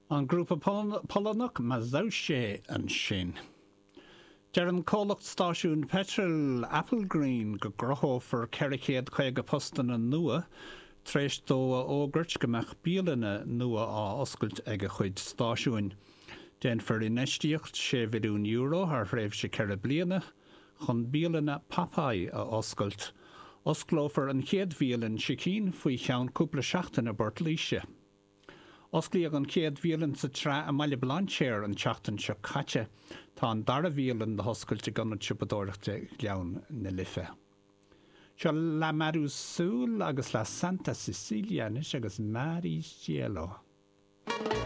An grúpa Polannach Mazowsze ansin. Deir an comhlacht stáisiúin peitril Applegreen go gcruthófar 450 postanna nua tar éis dó a fhógairt go mbeadh bialanna nua á oscailt ag a chuid stáisiúin. Déanfar infheistíocht €6 mhilliún thar thréimhse ceithre bliana chun bialanna Popeye a oscailt. Osclófar an chéad bhialann sicín faoi cheann cúpla seachtain i bPort Laoise. Osclaíodh an chéad bhialann sa tsraith i mBaile Bhlainséir an tseachtain seo caite. Tá an dara bhialann le hoscailt ag Ionad Siopadóireachta Ghleann na Life. Seo La Marusul agus La Santa Cecilia anois agus Mar y Cielo.